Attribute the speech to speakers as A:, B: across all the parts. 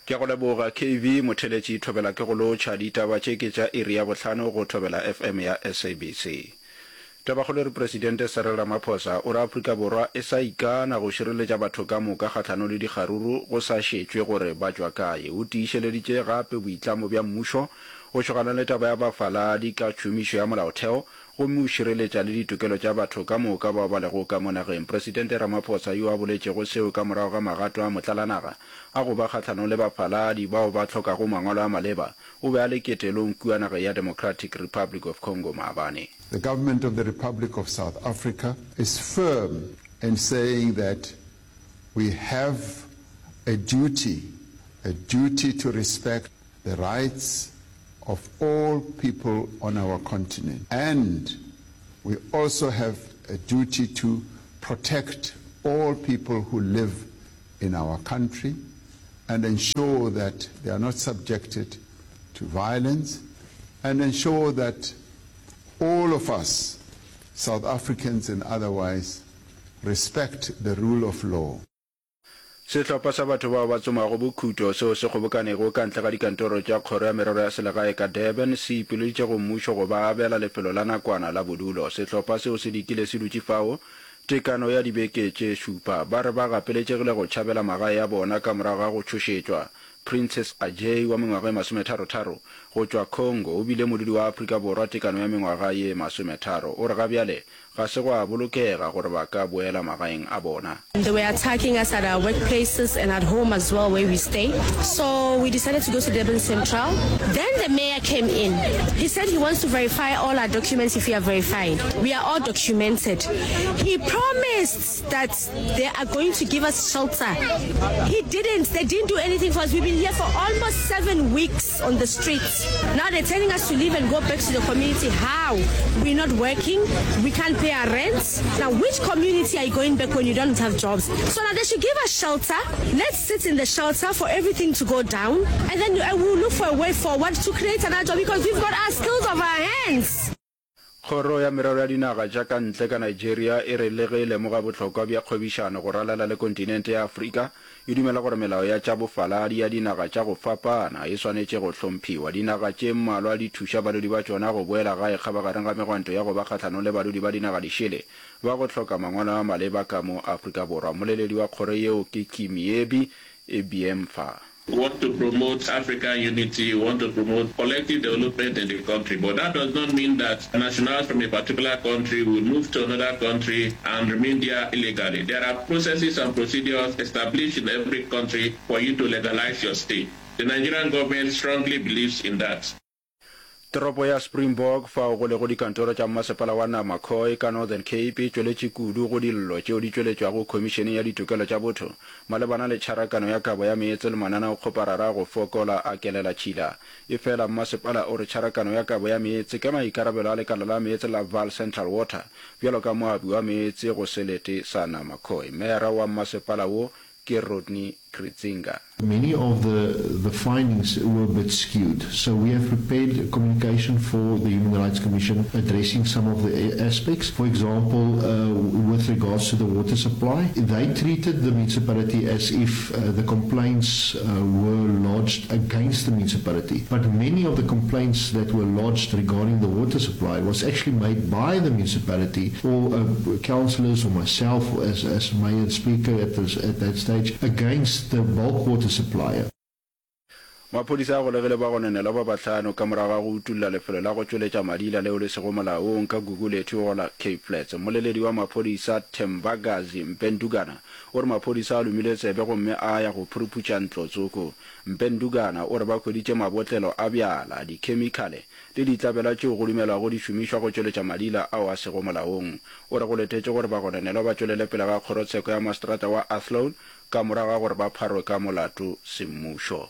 A: Ke a go leboga KV Motheletši Thobela ke go lotšha. Ditaba tše ke tša iri ya bohlano go Thobela FM ya SABC. Tabakgolo e re Presidente Cyril Ramaphosa o re Afrika Borwa e sa ikana go šireletša batho ka moka kgahlanong le dikgaruru go sa šetšwe gore ba tšwa kae. O tiišeleditše gape boitlamo bja mmušo go šogana le taba ya bafaladi ka tšhomišo ya molaotheo gomme o šireletša le ditokelo tša batho ka moka bao ba lego ka mo nageng. Presidente Ramaphosa yo a boletšego seo ka morago ga magato a motlalanaga a go ba kgahlanong le bafaladi bao ba hlokago mangwalo a maleba, o be a le ketelong kua nageng ya Democratic Republic of Congo maabane.
B: The government of the Republic of South Africa is firm in saying that we have a duty, a duty to respect the rights of all people on our continent and we also have a duty to protect all people who live in our country and ensure that they are not subjected to violence and ensure that all of us, South Africans and otherwise, respect the rule of law.
A: Sehlopha sa batho bao ba tsomago bokhuto seo se kgobokanego ka ntle ga dikantoro tša Kgoro ya Merero ya Selegae ka Durban se ipileditše go mmušo go ba abela lefelo la nakwana la bodulo. Sehlopha seo se dikile se dutše fao tekano ya dibeke tše šupa. Ba re ba gapeletšegile go tšhabela magae a bona ka morago ga go tšhošetšwa. Princess Ajay wa mengwaga e masometharotharo go tšwa Congo o bile modudi wa Afrika Borwa tekano ya mengwaga ye masometharo. O re ga bjale Ga se gwa bolokega gore ba ka boela magaeng a bona.
C: They were attacking us at our workplaces and at home as well where we stay. So we decided to go to Durban Central. Then the mayor came in. He said he wants to verify all our documents if we are verified. We are all documented. He promised that they are going to give us shelter. He didn't. They didn't do anything for us. We've been here for almost seven weeks on the streets. Now they're telling us to leave and go back to the community. How? We're not working. We can't pay our rent. Now, which community are you going back when you don't have jobs? So now they should give us shelter. Let's sit in the shelter for everything to go down. And then uh, we'll look for a way forward to create another job because we've got our skills of our hands.
A: Kgoro ya Merero ya Dinaga tša ka Ntle ka Nigeria e re le ge e lemoga bohlokwa bja kgwebišano go ralala le kontinente ya Afrika, e dumela gore melao ya tša bofaladi ya dinaga tša go fapana e swanetše go hlomphiwa. Dinaga tše mmalwa di thuša badudi ba tšona go boela gae kgabagareng ga megwanto ya go ba kgahlanong le badudi ba dinaga dišele ba go hloka mangwalo a maleba ka mo Afrika Borwa. Mmoleledi wa kgoro yeo ke Kimiebi Ebiemfa.
D: We want to promote African unity, we want to promote collective development in the country, but that does not mean that nationals from a particular country will move to another country and remain there illegally. There are processes and procedures established in every country for you to legalize your stay. The Nigerian government strongly believes in that.
A: Toropo ya Springbok, fao go lego dikantoro tša mmasepala wa Nama Khoi ka Northern Cape, e tšweletše kudu go dillo tšeo di tšweletšwago Khomišeneng ya Ditokelo tša Botho malebana le tšharakano ya kabo ya meetse le mananeokgoparara a go fokola a kelelatšhila. Efela mmasepala o re tšharakano ya kabo ya meetse ke maikarabelo a lekala la meetse la Vaal Central Water bjalo ka moabi wa meetse go selete sa Nama Khoi. Meyara wa mmasepala wo ke Rodney Kritzinger.
E: Many of the the findings were a bit skewed, so we have prepared communication for the Human Rights Commission addressing some of the aspects. For example, uh, with regards to the water supply, they treated the municipality as if uh, the complaints uh, were lodged against the municipality. But many of the complaints that were lodged regarding the water supply was actually made by the municipality or uh, councillors or myself as, as mayor and speaker at, this, at that stage against the bulk water supplier.
A: Maphodisa a golegile bagononelwa ba bahlano ka morago ga go utolla lefelo la go tšweletša madila leo le sego molaong ka Gugulethu go la Cape Flats. Mmoleledi wa maphodisa Thembakazi Mpendugana o re maphodisa a lomile tsebe gomme a ya go phuruphutša ntlo tsoko. Mpendugana o re ba hweditše mabotlelo a bjala, dikhemikhale le ditlabela tšeo go dumelwago di šomišwa go tšweletša madila ao a sego molaong. O re go letetše gore bagononelwa ba tšwelele pele ga kgorotsheko ya maseterata wa Athlone ka morago ga gore ba pharwe ka molato semmušo.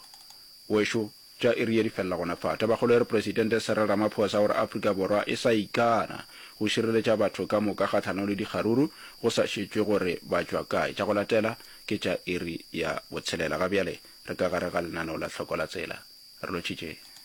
A: Wešo, tša iri ye di felela gona fa. Tabakgolo e re Presidente Cyril Ramaphosa o re Afrika Borwa e sa ikana go šireletša batho ka moka kgahlanong le dikgaruru go sa šetšwe gore ba tšwa kae. Tša go latela ke tša iri ya botshelela. Ga bjale re ka gare ga lenaneo la Hloko la Tsela. Re lotšhitše.